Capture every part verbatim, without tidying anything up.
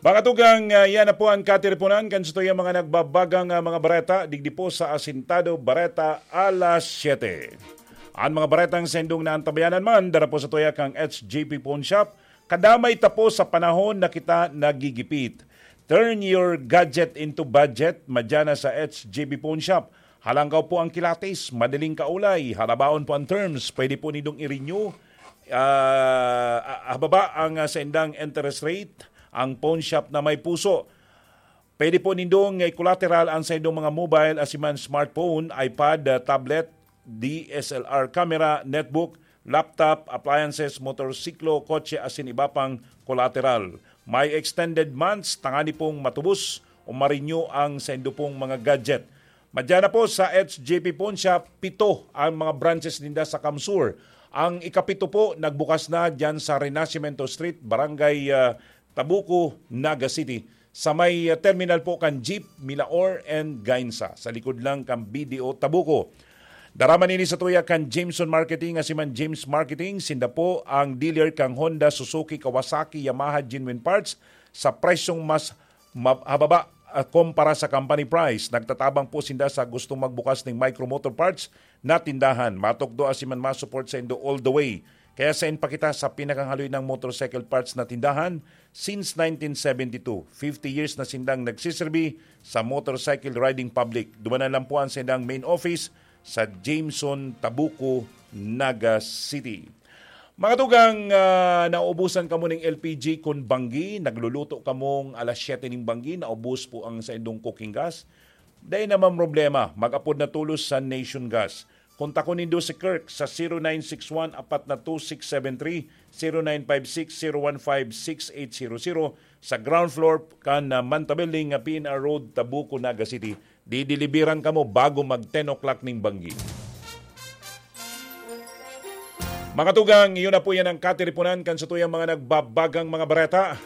Pangatugang, ah, yan na po ang katiriponan kan satuyang mga nagbabagang, ah, mga bareta digdi po sa Asintado Bareta Alas Siyete. Ang mga baretang saindong naantabayanan man, dara po sa tuya kang H J P Pawn Shop. Kadamay ta po sa panahon na kita nagigipit. Turn your gadget into budget, madya na sa H J P Pawn Shop. Halangkaw po ang kilatis, madaling kaulay, halabaon po ang terms, pwede po nindong i-renew. Ah, ah, hababa ang, ah, saindang interest rate, ang pawn shop na may puso. Pwede po nindong i-collateral ang saindong mga mobile, asiman smartphone, iPad, ah, tablet, D S L R camera, netbook, laptop, appliances, motorsiklo, kotse, asin iba pang collateral. May extended months, tangani pong matubos o ma-renew ang saindo pong mga gadget. Madya na po sa H J P Pawn Shop, pito ang mga branches ninda sa Kamsur. Ang ikapito po, nagbukas na dyan sa Renacimiento Street, Barangay, ah, Tabuco, Naga City. Sa may, ah, terminal po kan Jeep, Milaor and Gainsa. Sa likod lang kan B D O Tabuco. Dara man ini sa tuya kan Jameson Marketing, asiman James Marketing. Sinda po ang dealer kang Honda, Suzuki, Kawasaki, Yamaha, Genuine Parts sa presyong mas ma-, hababa, ah, kumpara sa company price. Nagtatabang po sinda sa gustong magbukas ning Micro Motor Parts na tindahan. Matukdo asiman ma-support saindo all the way. Kaya sain pa kita sa pinakahaloy ng motorcycle parts na tindahan since nineteen seventy-two. Fifty years na sindang nagsiserbi sa motorcycle riding public. Dumanan lang po ang sindang main office sa Jameson, Tabuco, Naga City. Mga tugang, ah, naubusan kamo ning L P G kun banggi, nagluluto kamong alas siyete ning banggi, naubos po ang saindong cooking gas. Dai naman problema, mag-apod na tolos sa Nation Gas. Kontakon nindo si Kirk sa zero nine six one apat na two six seven three, zero nine five six zero one five six eight zero zero, sa ground floor kan, ah, Manta Building, ah, P N R Road, Tabuco, Naga City. Dideliveran kamo bago mag ten o'clock ning banggi. Mga tugang, iyo na po yan ang katiriponan kan satuyang mga nagbabagang mga bareta.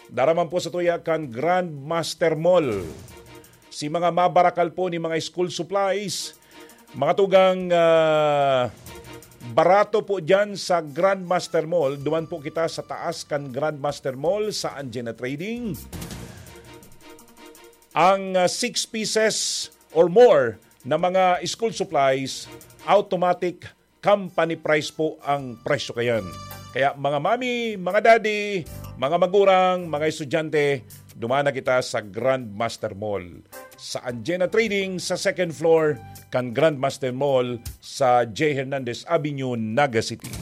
Dara man po sa tuya kan Grandmaster Mall. Si mga mabarakal po ni mga school supplies, mga tugang, ah, barato po dyan sa Grandmaster Mall. Duman po kita sa taas kan Grandmaster Mall sa Anjena Trading. Ang, ah, six pieces or more na mga school supplies, automatic company price po ang presyo kayan. Kaya mga mami, mga daddy, mga magurang, mga estudyante, duman na kita sa Grandmaster Mall. Sa Anjena Trading, sa second floor kan Grandmaster Mall sa J Hernandez Avenue, Naga City.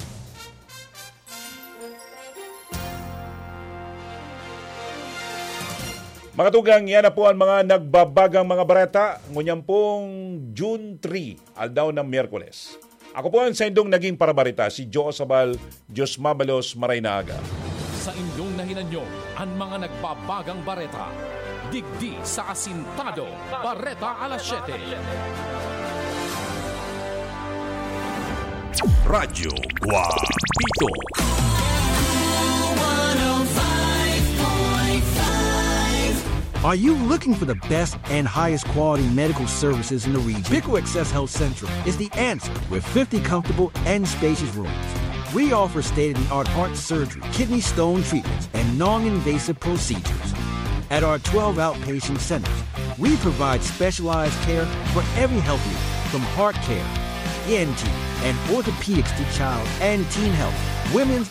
Mga tugang, yan na po ang mga nagbabagang mga bareta ngunyan pong June three, aldaw ng Miyerkules. Ako po ang saindong naging parabarita, si Joe Sabal. Diyos mabalos, maray na aga. Sa inyong nahinanyo, ang mga nagbabagang bareta, digdi sa Asintado, Bareta Alas siyete. Radyo Guapito. Are you looking for the best and highest quality medical services in the region? Pico Access Health Central is the answer with fifty comfortable and spacious rooms. We offer state-of-the-art heart surgery, kidney stone treatments, and non-invasive procedures. At our twelve outpatient centers, we provide specialized care for every health need, from heart care, E N T, and orthopedics to child and teen health, women's